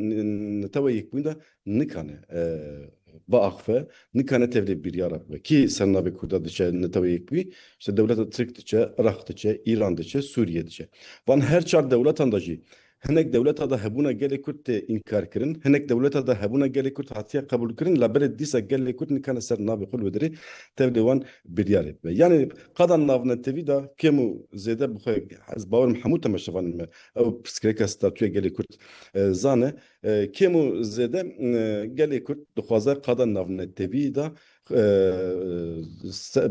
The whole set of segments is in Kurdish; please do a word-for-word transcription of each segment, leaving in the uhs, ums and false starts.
n-, Netewa Yekbûyî de nikane, e, biaxife, nikane tevlê biryara bibe. Kî ser navê Kurda diçe Netewa Yekbûyî? İşte dewleta Tirk diçe, Iraq diçe, Îran diçe, Sûriye diçe. Van her çar dewletan de jî hinek dewleta de hebûna gelê Kurd tê înkar kirin, hinek dewleta de hebûna gelê Kurd hatiye qebûl kirin, labelê dîsa gelê Kurd nikane ser navê xwe li wê derê tevlê wan biryarê bibe. Yani qada navnetewî de kêm û zêde bi xwe, ez bawerim hemû temaşevanên me ew pirsgirêka statûya gelê Kurd, e, zane. E, kêm û zêde, e, gelê Kurd dixwaze qada navnetewî de, e, se-,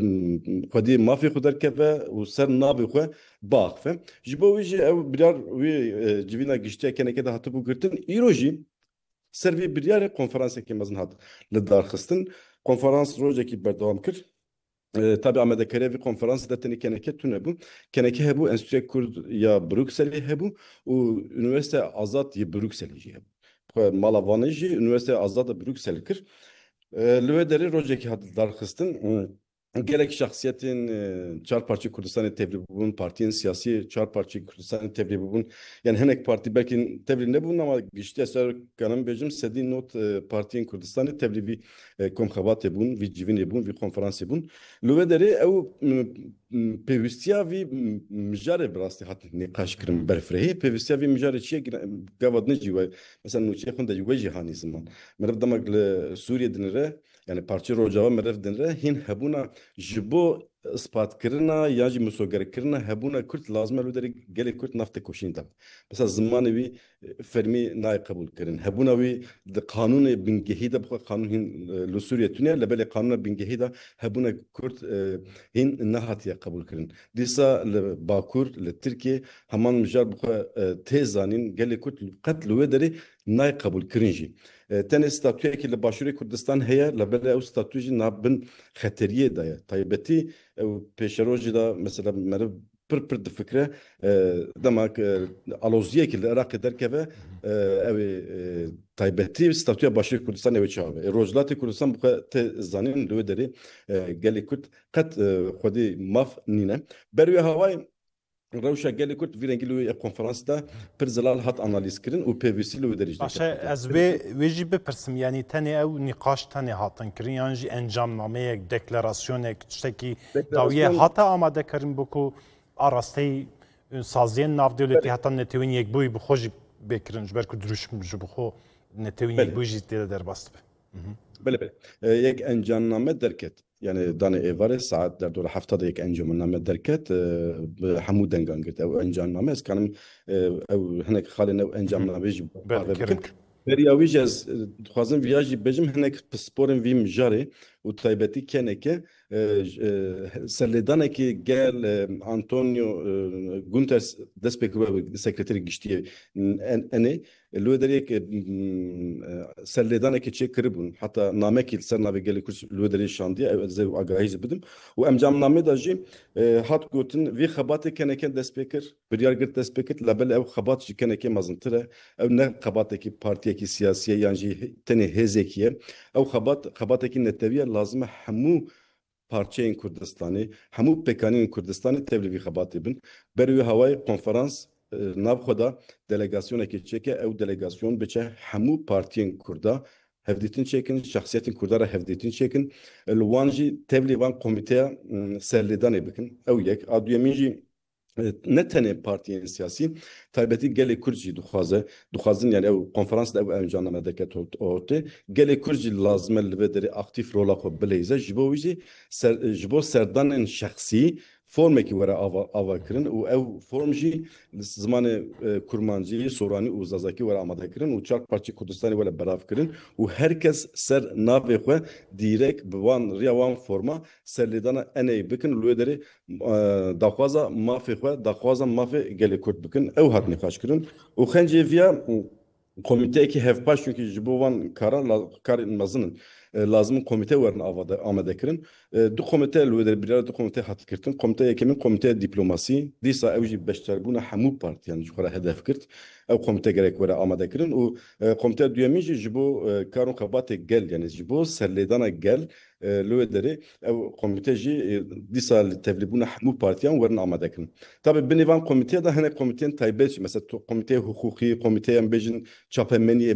xwedî mafê xwe derkeve û ser navê xwe biaxife. Ji bo wî jî ew biryar wî, e, civîna giştiya K N K de hatibû girtin. Îro jî ser vê biryarê konferansekî mezin hat lidarxistin. Konferans rojekî berdewam kir. E, tabi amadekariya vî konferansê de tenê K N K tune bû. K N K hebû, Enstitûya Kurd ya Brukselê hebû û Unîversîteya Azad yê Brukselê jî hebû. Xwe mala Vanê jî Unîversîteya Azad a Bruksel kir. E, li wê derê rojekî hat darxistin. Gelek şexsiyetên, e, çar parçeyê Kurdistanê tevlî bûbûn, partiyên siyasî çar parçeyê Kurdistanê tevlî bûbûn. Yani hinek partî belkî tevlî nebûn ama giştiya ser kanim bêjim sedî not, e, partiyên Kurdistanê tevlî vî, e, komxebatê bûn, vî civînê bûn, vî konferansê bûn. Li wê derê ew, m, m, pêwîstiya vî, m, mijarê bi rastî hat nîqaş kirin berfirehî. Pêwîstiya vî mijarê çi ye? Gina-, gava din jî we, mesela nûçeyê xwe de jî we jî hanî ziman. Meriv demek li Sûriyê dinire, yani parçeyê Rojava meriv dinire, hîn hebûna ji bo ispatkirina yan jî misogerkirina hebûna Kurd lazim e li derê gelê Kurd nav têkoşînê de. Mesela zimanê wî, e, fermî nayê qebûl kirin. Hebûna wî di qanûnê bingehî de, bixwe qanûn hîn, e, li Sûriye tune ye, lebelê qanûna bingehî de hebûna Kurd, e, hîn nehatiye qebûl kirin. Dîsa li Bakur, li Tirkiye heman mijar bixwe, e, tê zanîn, gelê Kurd qet li wê derê nayê qebûlkirin jî. E, tenê statuyekî li Başûrê Kurdistan heye, lebelê ew statuy jî nabin xeteriyê de ye. Taybetî ew pêşerojî de mesela meriv pir pir difikire, e, dema ku aloziyekî li Iraqê derkeve, e, ew ê, e, taybetî statuya Başûrê Kurdistanê ew ê çawa be. E, Rojhilatê Kurdistan bixwe tê zanîn li wê derê, e, gelê Kurd qet, e, xwedî maf nîne. Ber wê hawayê rewşa gelê Kurd vî rengî li wê konferansê de pir zelal hat analîz kirin û pêwîstî li wê derê jî Baş e, dikeve. Ez wê, wê jî bipirsim, yanî tenê ew nîqaş tenê hatin kirin yan jî encamnameyek, deklarasyonek, tiştekî dawiyê Deklarasyon hate amadekirin bo ku arasteyî, e, saziyên navdewletî Belê. heta Netewên Yekbûyî bi xwe jî bê kirin, ji ber ku dirûşm ji bi xwe Netewên Belê. Yekbûyî jî tê de derbas dibe. Belê, belê. E, yek encamname derket. Yani danê êvarê saet derdora hefta de yek encamname derket, e, bi hemû dengan girt. Ew encamname, ez kanim, e, ew hinek xalên ew encamname jî Ber parve kirin. bikim. Beriya wî jî ez, e, dixwazim viya jî bêjim, hinek pisporên vî mijarê û taybetî K N K, e, j-, e, serlêdanekî gel, e, Antonio, e, Guterres dest pê kiribe sekreterê giştî yê N-, N A. Li wê derê yek, e, m, e, serlêdanekê çêkiribûn. Heta namekî li ser navê gelê Kurd li wê derê şandiye. Ew ez ê agahî jî bidim. Û encamnamê de jî, e, hat gotin, vî xebatê K N K dest pê kir, biryar girt dest pê kir, labelê ew xebat ji K N K mezintir e. Ew ne xebatekî partiyekî siyasî ye yan jî he-, tenê hêzekî ye. Ew xebat, xebatekî netewî ye, lazim e hemû parçeyên Kurdistanê, hemû pêkanînên Kurdistanê tevlî vî xebatê bin. Ber wê hawayê konferans, e, nav xwe da delegasyonekê çêke, ew delegasyon biçe hemû partiyên Kurda hevdîtin çêkin, şexsiyetên Kurda re hevdîtin çêkin, li wan jî tevlî van komîteya, m, serlêdanê bikin. Ew yek. A duyemîn jî, e, ne tenê partiyên siyasî, taybetî gelê Kurd jî dixwaze, dixwazin, yani ew konferans de ew encamname derket ort-, ortê. Gelê Kurd jî lazim e li vê derê aktîf rola xwe bileyze. Ji bo wî jî ser, ji bo serdanên şexsî formekî were ava, ava kirin û ew form jî li zimanê, e, kurmancî, soranî û zazakî were amade kirin û çar parçeyê Kurdistanê were belav kirin û her kes ser navê xwe dîrek bi wan riya wan forma serlêdana N A bikin, li wê derê, e, daxwaza mafê xwe, daxwaza mafê gelê Kurd bikin. Ew hat nîqaş kirin. Û xencê viya, e, komîteyekî hevpaş, çunkî ji bo van karan la-, karên mezin in, e, lazim in komîte werin avade-, amade kirin. E, du komîte li wê derê, biryara du komîte hat girtin. Komîte yekemîn komîteya dîplomasî, dîsa ew jî beşdarbûna hemû partiyan ji xwe re hedef girt. Ew komîte gerek were amade kirin û, e, komîteya duyemîn jî ji bo, e, kar û xebatê gel, yani ji bo serlêdana gel, E, li wê derê ew komîte jî, e, dîsa li tevlîbûna hemû partiyan werin amade kirin. Tabi binê van komîteya de hinek komîteyên taybet jî, mesela tu-, komîteyê hiqûqî, komîteyê em bêjin çapemeniyê,